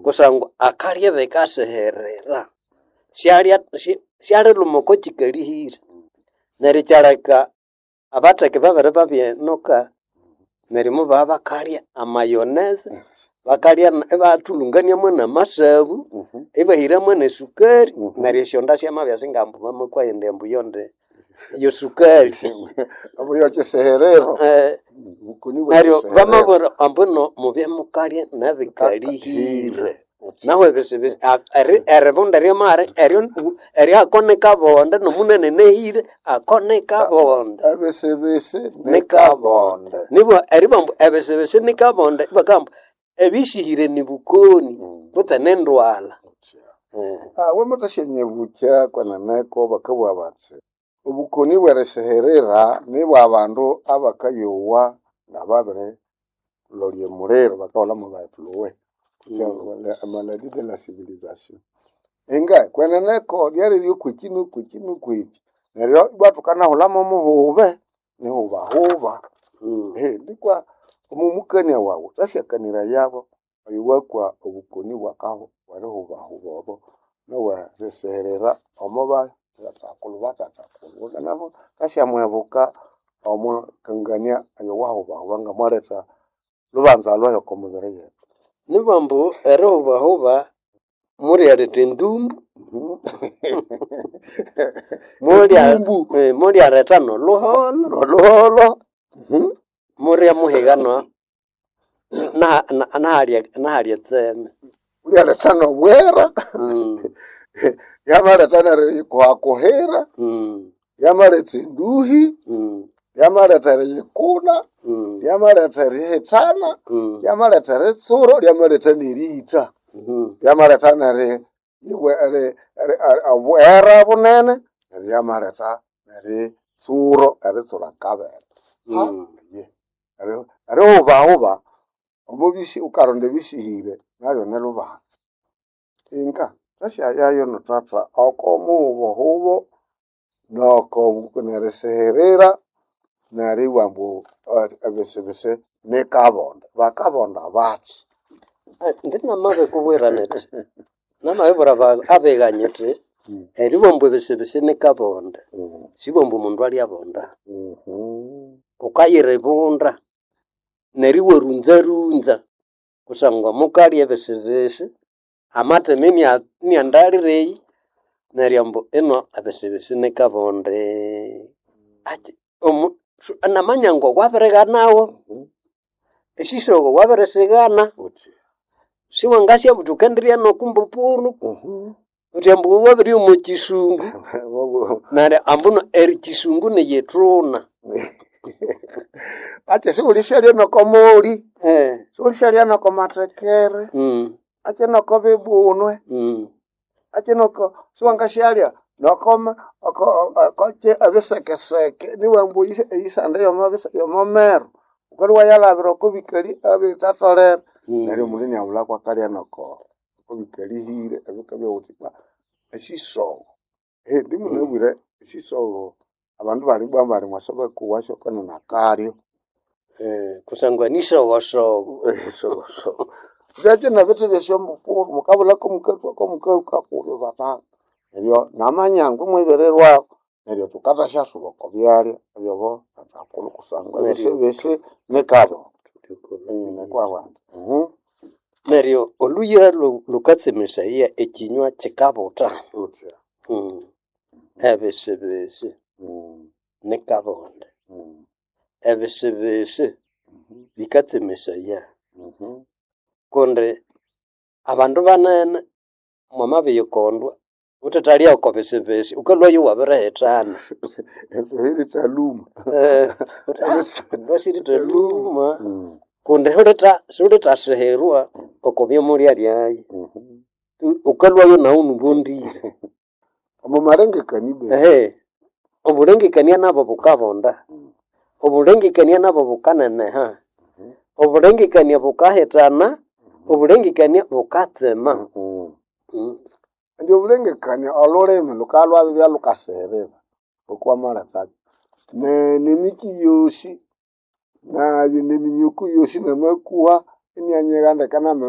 Kusangwa akalya bikasiherera syalya syaliluma oko kikalihire. Neryo kyaleka abatheke babere babyenuka neryo mubabya bakalya amayoneze, bakalya ibathulungania mwamasabu, ibahira mwenesukari neryo esyonda syamabya singambu bamakwa indi ambu yonde yosukali. Ambu yokyisiherero. Obukoni bwe Neryo kyisiherero. bamabwira ambu mubye mukalya nebikalihire. Nahu ebisibisi eribunda eryamaghere eryo eryo ako nikabonde nomunene nehire ako nikabonde. Ebisibisi Nikabonde. Nibwa eribamba ebisibisi nikabonde ibakamba ebisihire nibukoni kutse nendwalha. Wamathasyanyibucha kweneneko bakabugha bathi obukoni bwerisiherera nibwa bandu abakayowa ngababiri lolya omuliro bakahulha mwabaefluwe maladie de la civilisation. Inga kweneneko lyaliryo kwiki nokwiki nokwiki neryo ibwa thukanahulha momuhube nihubahuba. Nikwa omomukania wawu wukasyakanirayabo oyo wakwa obukoni bwerihubahuba obo nobwerisiherera omo bathathakulhu bathathakulhu nabo wukasyamuhebuka omwikangania oyo wahubahuba ngamwaletha lubanza lwahi oko mibiri yethu. Nibwa ambu erihubahuba mulyaletha endumbu, Endumbu. mulyaletha nolhuholho, Nolhuholho. mulyamuhiga nahalya etseme. Mulyaletha nobwera. Yamaletha neriyikuhakuhira, yamaletha enduhi, yamaletha eriyikuna, yamaletha erihithana, yamaletha eritsuro, lyamaletha neriyitha, lyamaletha obwera bunene, neryo lyamaletha neritsuro eritsura akabere. Erihubahuba omubisi wukaronda ebisihire nabyo nilubanza. Inga thwasyayayo nothatha oko muhubohubo noko nerisiherera neribugha ambu ebisibisi nikabonde. Bakabonda bathi? Indi namabikubwira nyithi namabibwira abiga nyithi eribugha ambu ebisibisi nikabonde sibugha ambu omundu alyabonda. Wukayiribunda neryo iwarunzarunza kusangwa mukalya ebisibisi amathema iniandalira eyi neryo ambu ino ebisibisi nikabonde. Akyi namanya ngo wabirighanawo esyisogo wabirisighana siwangasya buthi wukendirya nokumbupunu wuthi ambu wabiryoya omo kyisungu neryo ambuno ekyisungu niyithuna. Akyi siwulisyalya noko moli, siwulisyalya noko mathekere, akyi noko bibunwe, akyi noko siwangasyalya noko okyi ebisekeseke nibughambu ambu eyisande yomo meru wukalhwa iwayalhabira oko bikali ebithatholere. Neryo omundu iniaghulha kwakalya noko bikalihire ebikabya wuthi esyisogo. Ndimunabwire esyisogo abandu bali ibwa bali mwasa bakowasyo kwenene akalyo. Kusangwa nisogosogo. Sogosogo. Byakyi nebithi byesyombupuru mukabulha komukathwa komukahuka kubi batata. Neryo namanyangu imwibirirwaku neryo thukathasyasuba oko byalya ebyabo thathakulhu kusangwa ebisibisi nikabonde. Nikwabandi. Neryo olhuyira lhukatsemesaya ekinywa kyikabutha. Wuthya. Ebisibisi nikabonde. Ebisibisi bikatsemesaya kundi abandu banene mwamabiyikondwa wuthethalya oko bisibisi wukalhwayo iwabirihithana. Erilithaluma. Wuthi sirithaluma kundi siwulithasihirwa oko byamulyalyayo. Wukalhwayo naghu inibondire. Omo malengekania Obulengekania nabo bukabonda. Obulengekania nabo bukaneneha. Obulengekania bukahithana, obulengekania bukatsema. Indi obulengekania olhulimi lhukalhwabya lhukasighirira ngokwamalethakyo nemikyi yosi neminyuku yosi namakuha inianyigha ndeke namenu.